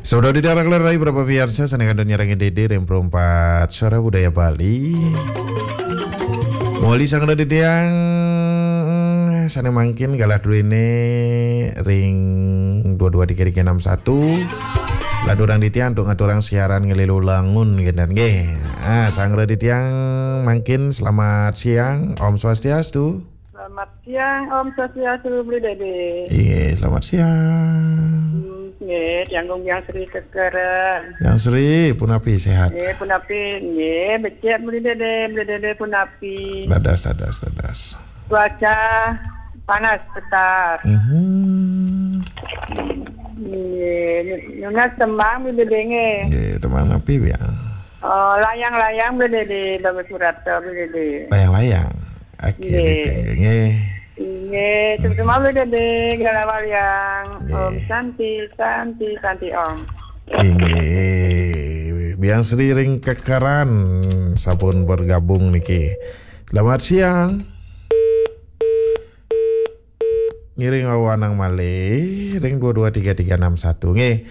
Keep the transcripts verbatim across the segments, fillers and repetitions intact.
Saudara di daerah Kalerai, berapa biasa sana kandun nyarangin dede ring perempat suara budaya Bali. Moli sang dede tiang sana mangkin galah dulu ini ring dua dua tiga tiga enam satu. Lalu orang di tiang untuk ngaturang siaran ngelilu langun gitu nggih. Ah, sang dede tiang mangkin selamat siang, Om Swastiastu. Selamat siang, Om Swastiastu, Beli Dede. Iya, selamat siang. Hmm, nggih, tiang Gung Biang Sri Kekeren. Yang Sri, punapi sehat? Nggih, punapi, nggih, becik Beli Dede, Beli Dede punapi. Dadas, dadas, dadas. Cuaca panas besar. Mhm. Nggih, nunas tembang Beli Dede nggih. Nggih, tembang napi, Biang? Oh, layang-layang Beli Dede, bagus surat to Beli Dede. Layang-layang. Oke, nggih. Nggih. Nggih, sama-sama Beli Dede, Gala Waliang. Nggih. Om Santi, Santi, Santi Om. Inggih. Biang Sri ring Kekeran sampun bergabung niki. Selamat siang. Ngiring wawanang malih ring dua dua tiga tiga enam satu. Nggih.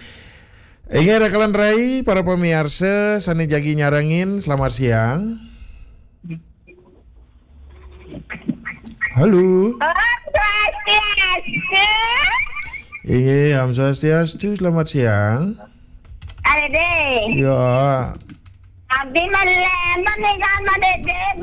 Inggih, rekan rai, para pamiarsa sane jagi nyarengin, selamat siang. Halo. Om Swastiastu. Inggih, Om Swastiastu, selamat siang. Ade. Ya. Abdi malen menika Dede, be